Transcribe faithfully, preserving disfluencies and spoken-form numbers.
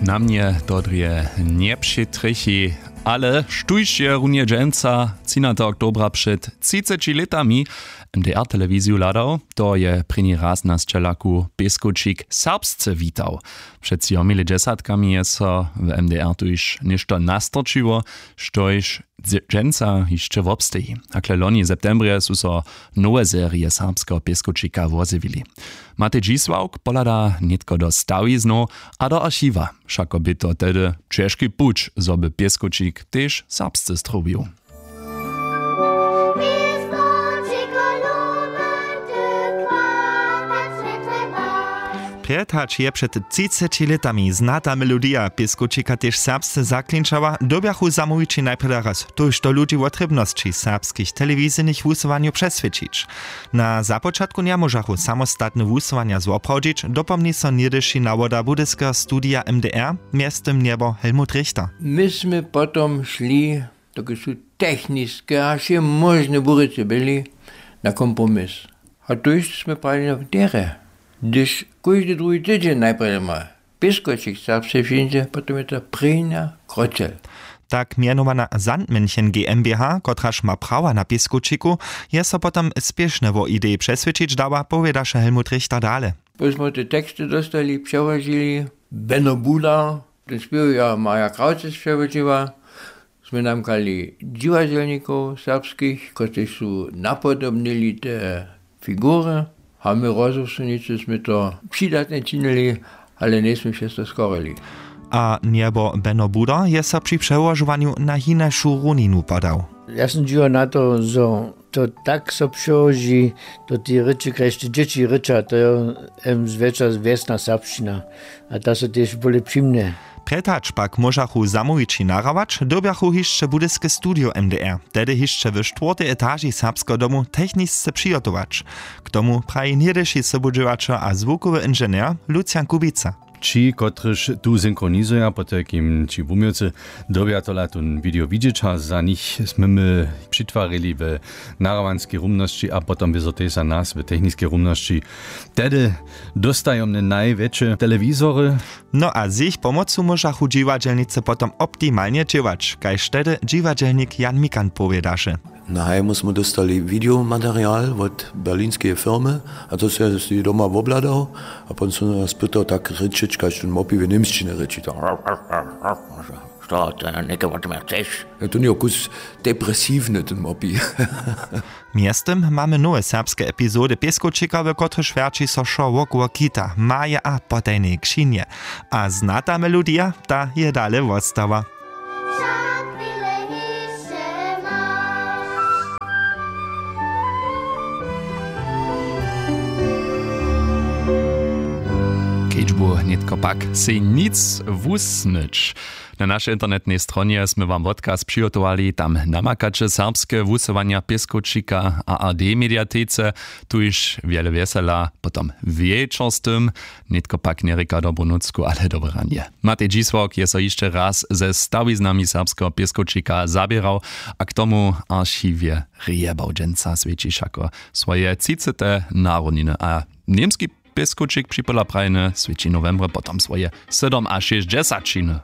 Na mnje to drje njepřetrjechi, ale štóž je runje dźensa, třinatego oktobra před třiceći lětami, M D R telewiziju hladał, to je prěni raz na sćelaku pěskowčik serbsce witał. Před třomi lětdźesatkami je so w M D R tuž něšto nastorčiło, štož dźensa hišće wobsteji. Hakle loni w septembrje su so nowe serije serbskeho pěskowčika wozjewili. Matej Dźisławk pohlada nětko do stawiznow a do archiwa. Wšako bě to tehdy ćežki puć, zo by pěskowčik tež serbsce strowił. Prjed hač je před třiceći lětami znata melodija pěskowčika tež serbsce zaklinčała, dyrbjachu zamołwići najprjedy raz, tójšto ludźi wotrěbnosći serbskich telewizyjnych wusyłanjow přeswědčić. Na započatku njemóžachu samostatne wusyłanja zwoprawdźić, dopomni so něhdyši nawoda budyskeho studija M D R, mjeztym njebo Helmut Richter. My smy potom šli, dokelž su techniske a wšemóžne burjece byli, na kompromis. A tójšto smy prajili na wdjerje, hdyž kóždy druhi tydźeń najprjedy ma pěskowčik serbsce přińdźe, potom je to prěnja kroćel. Tak mjenowana Sandmännchen GmbH, kotraž ma prawa na pěskowčiku, je so potom spěšnje wo ideji přeswědčić dała, powědaše Helmut Richter dale. Póki smy te teksty dóstali, přełožili, Beno Buda, ten spěw je Marja Krawc přełožiła, smy namkali dźiwadźelnikow serbskich, kotřiž su napodobnili te figury, a my rozumsnicy smy to přidatnje činili, ale njejsmy přez to skorili. A njebo Beno Buda je so při přełožowanju na hinašu runinu podał. Ja sym dźiwał na to, zo to tak so přełoži do tej rěči, kaž te dźěći rěča, to je em zwjetša wjesna serbšćina. A ta so tež bóle přimnje. Prjed hač pak móžachu zamołwići nahrawać, dyrbjachu hišće budyske studio M D R, tehdy hišće w štwórtej etaži Serbskeho domu, technisce přihotować. K tomu praji něhdyši sobudźěłaćer a zwukowy inženjer Lucian Kubica. Ći, kotryž tu synchronizuja, potajkim ći wuměłcy, dyrbja tola tón video widźeć a za nich smy my přitwarili w nahrawanskej rumnosći a potom wězo tež za nas w techniskej rumnosći. Tehdy dóstajomne najwjetše telewizory. No a z jich pomocu móžachu dźiwadźelnicy potom optimalnje dźěłać, kaž tehdy dźiwadźelnik Jan Mikan powědaše. Na hajmu smy dóstali wideomaterial wot berlinskeje firmy, a to se si doma wobhladał, a pon so nas pytał tak rěčeć, kaž ten mopi w němšćinje rěči, to što, to něke wot mje chceš? To njeje kus depresiwny, ten mopi. Mjeztym mamy nowe serbske epizody pěskowčika, w kotrychž wjerći so wšo wokoło kita, maje a potajnej křinje. A znata melodija, ta je dale wostała. Kedźbu nětko pak sej nic wusnyć. Na našej internetnej stronje smy wam wotkaz přihotowali, tam namakaće serbske wusyłanja pěskowčika a R D mediatece. Tuž wjele wjesela potom wječor z tym. Nětko pak njerěka dobru nutřku, ale dobre ranje. Matej Dźisławk je so hišće raz ze stawiznami serbskeho pěskowčika zaběrał a k tomu archiwje rjebał. Dźensa swjeći wšako swoje třicete narodniny a němski pěskowčik připola prajny swjeći nowembry potom swoje sydomašěsćdźesaćiny.